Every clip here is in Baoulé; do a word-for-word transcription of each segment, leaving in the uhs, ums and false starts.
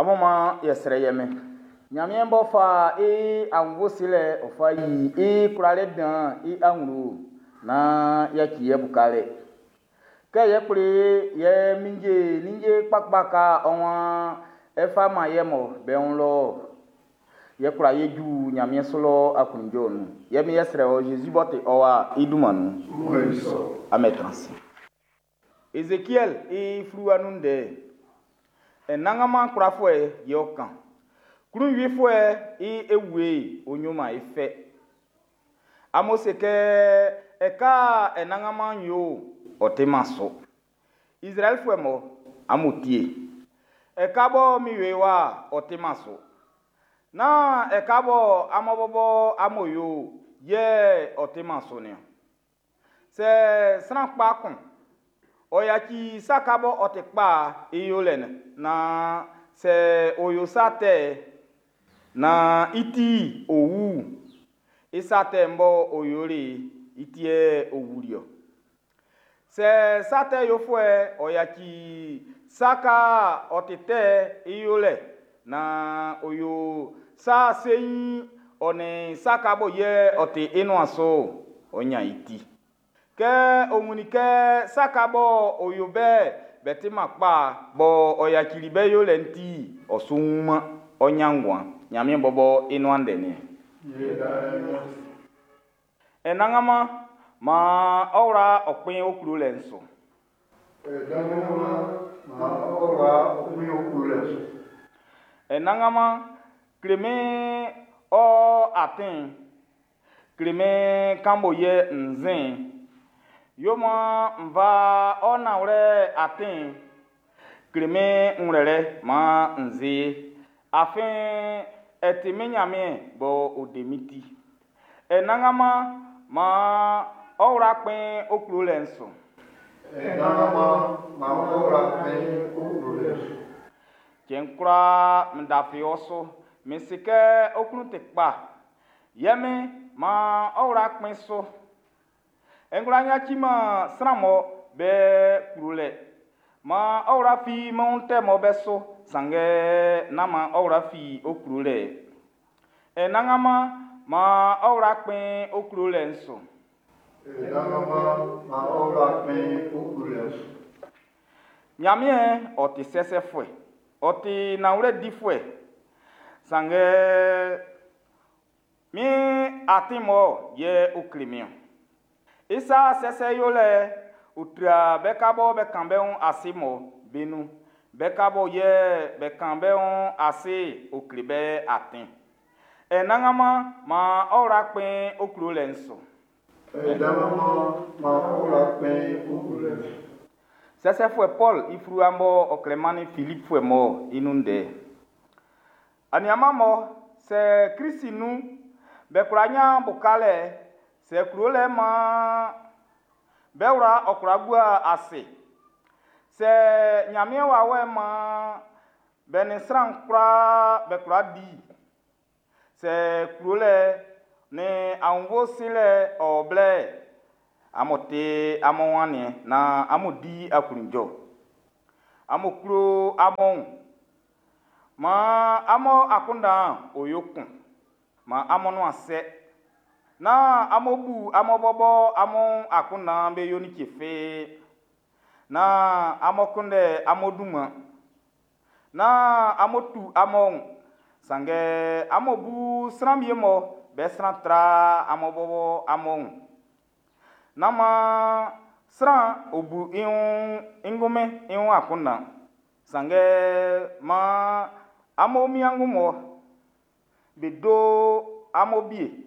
Amun man yɛ srɛ yɛ mɛn. Nyanmiɛn b'ɔ fa e aunnvuɛ silɛ ɔ fa yi i kwlalɛ dan'n i awlo nán yaci yɛ bukalɛ. Kɛ yɛ kpli yɛ minje ninnge kpakpa ka ɔ waan e fa man yɛ mɔ be wun lɔ. Yɛ kwla ye ju Nyanmiɛn su lɔ aklunjuɛ nun. Yɛ mi yɛ srɛ ɔ Zezi b'ɔ ti ɔ wa i dunman nun. Amen transi. Ezekiɛl i fluwa nun ndɛ. Anannganman kwlafuɛ yɛ ɔ kan. Klunwifuɛ i ewue ɔ yoman e fɛ. Amun se kɛ ɛka Anannganman yo ɔ timan su. Izraɛlifuɛ mɔ amun tie. Ɛka bɔ min yoe wa ɔ timan su. Nán ɛka bɔ amun bɔbɔ amun yo yɛ ɔ timan su niɔn. Sɛ sran kpa kun ɔ yaci sa ka bɔ ɔ ti kpa i yolɛ'n naan sɛ ɔ yo sa tɛ naan i ti ɔ wu'n, i sa tɛ'n bɔ ɔ yoli'n i ti yɛ ɔ wuli-ɔ. Sɛ sa tɛ yofuɛ'n ɔ yaci sa ka ɔ ti tɛ'n i yolɛ naan ɔ yo sa seiin ɔ nin sa ka bɔ yɛ ɔ ti i nuan su'n, ɔ ɲan i ti. Kɛ ɔ wunnin kɛ sa ka bɔ ɔ yo be'n be timan kpa bɔ ɔ yacili be yolɛ'n ti, ɔ su wuman, ɔ́ ɲán nguan. Ɲanmiɛn bɔbɔ i nuan ndɛ niɛn. Anannganman, maan ɔ wla ɔ kpɛn ɔ klolɛ'n su. Anannganman, kle min ɔ atin'n, kle min kan bɔ yɛ n sin'n. Yo maan n fa ɔ nanwlɛ atin'n, kle min ngwlɛlɛ maan n si ye. Afin ɛ ti min Nyanmiɛn b'ɔ de min ti. Anannganman, maan ɔ wla kpɛn ɔ klolɛ'n su. Anannganman, maan ɔ wla kpɛn ɔ klolɛ'n su. Cɛn kwlaa n lafi ɔ su, min si kɛ ɔ klun ti kpa. Yɛ min, maan ɔ wla kpɛn su. N kwlá yaciman sran mɔ be klolɛ. Maan ɔ wla fi min wun tɛ mɔ be su, sanngɛ nán maan ɔ wla fi ɔ klolɛ. Anannganman, maan ɔ wla kpɛn ɔ klolɛ'n su. Anannganman, maan ɔ wla kpɛn ɔ klolɛ'n su. Ɲanmiɛn ɔ ti sɛsɛfuɛ, ɔ ti nanwlɛ difuɛ. Sanngɛ min atin mɔ yɛ ɔ kle min ɔn. I sa sɛsɛ yolɛ'n ɔ tra be ka bɔ be kan be wun ase mɔ be nun. Be ka bɔ yɛ be kan be wun ase ɔ kle be atin. Anannganman, maan ɔ wla kpɛn ɔ klolɛ'n su. Anannganman, maan ɔ wla kpɛn ɔ klolɛ'n su. Sɛsɛfuɛ Pɔl i fluwa bɔ ɔ klɛ mannin Filipfuɛ mɔ i nun ndɛ. Aniaman mɔ sɛ Klisi nun be kwla ɲan bukalɛ, sɛ klolɛ maan be wla ɔ kwla gua ase. Sɛ Ɲanmiɛn wawɛ'n maan be nin sran kwlaa be kwla di. Sɛ klolɛ nin aunnvuɛ silɛ ɔ blɛ, amun ti amun wun aniɛn naan amun di aklunjuɛ. Amun klo amun wun. Maan amun akunndan'n ɔ yo kun. Maan amun nuan sɛ. Nán amun bu amun bɔbɔ amun akunndan be yo like fi. Nán amun kunndɛ amun dunman. Nán amun tu amun wun. Sanngɛ amun bu sran wie'm be sran tra amun bɔbɔ amun wun. Nán maan sran ɔ bu i wun i ngunmin i wun akunndan. Sanngɛ maan amun wiengu'm be do amun wie.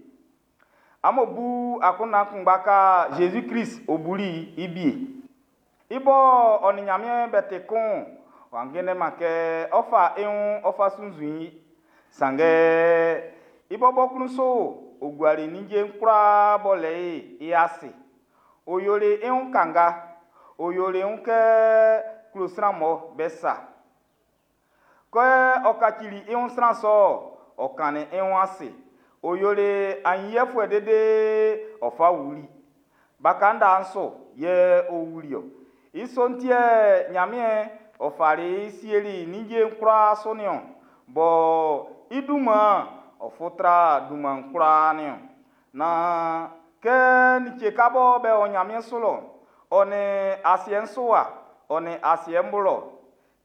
Amun bu akunndan kunngba ka Zezi Klist ɔ buli i wie. I bɔ ɔ nin Ɲanmiɛn be ti kun'n, w'a kunndɛman kɛ ɔ́ fá i wun ɔ́ fá sunnzun i. Sanngɛ i bɔbɔ klun su ɔ guali ninnge'n kwlaa b'ɔ le i'n i ase. Ɔ yoli i wun kanga, ɔ yoli i wun kɛ klɔ sran'm be sa. Kɛ ɔ kacili i wun sran sɔ'n, ɔ kannin i wun ase. Ɔ yoli aɲinyiɛfuɛ dede ɔ fa wuli. Baka nda'n su yɛ ɔ wuli ɔ. I sɔ'n ti yɛ Ɲanmiɛn ɔ fali i sieli ninnge'n kwlaa su nin-ɔn, bɔ i dunman'n ɔ fu tra dunman'n kwlaa nin-ɔn, nan kɛ like ka bɔ be o nyanmiɛn su lɔ, ɔ nin asiɛ'n su wa, ɔ nin asiɛ'n bo lɔ,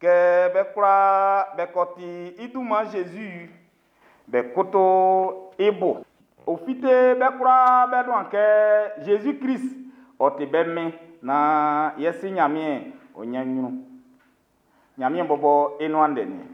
kɛ be kwlaa be ko ti i dunman Jésus'n, be koto i bo. Ɔ fite be kwlaa bé nuan kɛ Jésus-Krist ɔ ti be Min, nan ye Si Nyanmiɛn ɔ nyan nyrun. Nyanmiɛn bɔbɔ i nuan ndɛ nin.